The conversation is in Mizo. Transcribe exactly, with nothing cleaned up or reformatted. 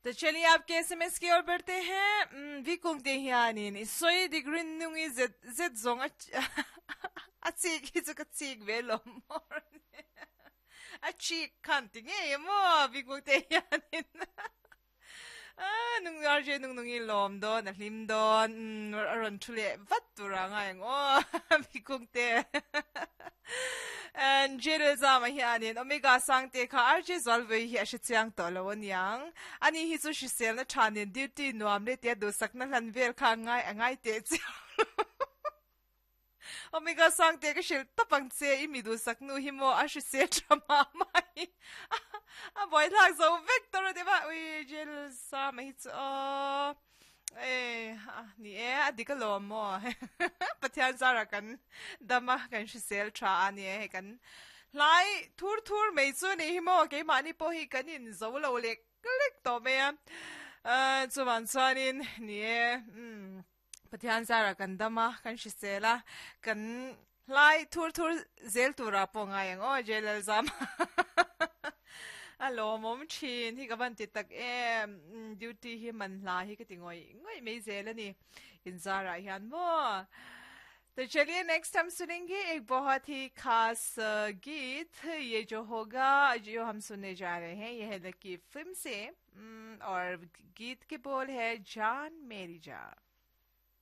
तो चलिए आपके एसएमएस की ओर बढ़ते हैं vi kung te hianin i soi digrin nungi zet zet zong a a chik hi chu ka chik ve lo mor a chik khan ti nge mo vi kung te hianin a nung ar je nung nungi lom don a hlim don a ron thule vat tura nga ang o vi kung te and jere zama hianin omega sang te kha arje zalve hi a chiang to lo aniang ani hi chu shisel na thanin duty nuam le te du sakna hlan vel kha ngai angai te omega sang te ka shil tapang che i mi du saknu hi mo a shisel thama mai a boy thak zo victor de ba ui jel sa mai chu o e ni e adika lo mo pathian zara kan dama kan shisel tha ani e kan lai thur thur mei chu ni hi mo ke mani po hi kanin zo lo lek lek to me a chuan chuanin ni e pathian zara kan dama kan shisela kan lai thur thur zel tura po ngai ang o jelal zam alo mom thin hi ka ban ti tak em duty hi man hla hi ka ti ngoi ngoi mei zel ani in zara hian mo तो चलिए नेक्स्ट हम सुनेंगे एक बहुत ही खास गीत ये जो होगा जो हम सुनने जा रहे हैं ये है लकी फिल्म से और गीत के बोल है जान मेरी जान।